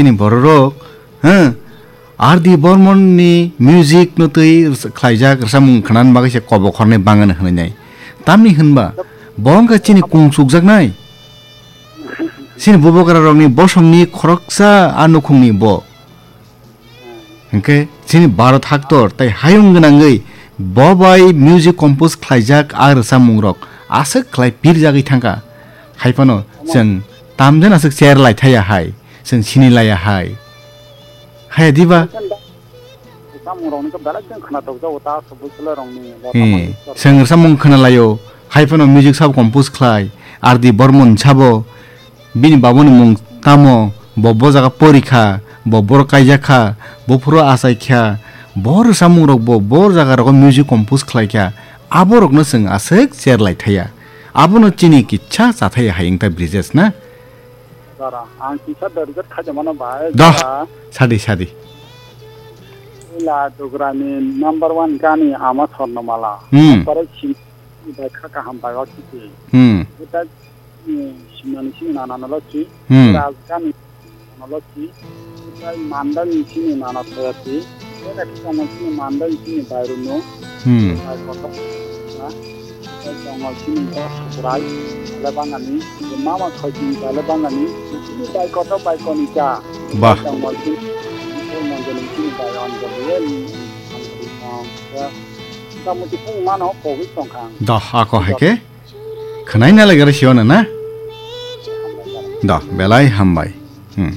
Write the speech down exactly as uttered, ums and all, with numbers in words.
Chini bororok, ha, R D Bormon ni music no twi khlaijak rwchapmung khwnani bagwi se kobo khornai bangani hwnwi nai. Tamni hwnba, bo wngkha chini kung chukjaknai. Chini bubagra rokni bosongni khoroksa a nukhungni bo. Hwnkhe chini Bharat haktor tai hayung gwnangwi bo bai music compose khlaijak a rwchapmungrok aswk khlai pirjagwi thangkha. Hai phano chwng tamjani aswk cher lai thaya hai, chwng sini laya hai. Haya diba? Rwchapmungrokni khe belai chwng khwnathokjago ta aswk bwswlarokni Lata Hmm, Mangeshkar. Chwng rwchapmung khwnalaio, hai phano music sabo compose khlai, R D Bormon sabo. Bini baboni mung tamo, bo bo jaga pori kha, bo boro kaijak kha, bo phuru achai kha, bo rwchapmung rok bo, bo jaga rogo music compose khlai kha, abo rokno chwng aswk cher lai thaya. Abono chini kisa cha thaya hai wngta Brijesh na? Dara, ang kisa dorigat khaja mano bai, Doh, dara. Sadi, sadi. Ila Dugrani number one gani ama Sornomala. Hmm. Pore sim-, bai kha kaham bai o kiti. Hmm. Ita Simani sini nana noloki, Hmm. Rajgani noloki, Utai Mandani sini nana toyati, Eda Kisana sini Mandani sini Bairunu, Hmm. Bai Koto, na, Utai Tongo sini Sukurai, Lebangani, Mama Khoji, Lebangani, sini Bai Koto, Bai Konika, Bah. Tongo sini, Mandani sini Bai Anjali, Anjali, Anjali, Anjali, Kamuti Pung Mano, Kohui Tongkang. Dah, ako hai ke? Khwnai na lagare siyo na na? Da, belai hambai. Hmm.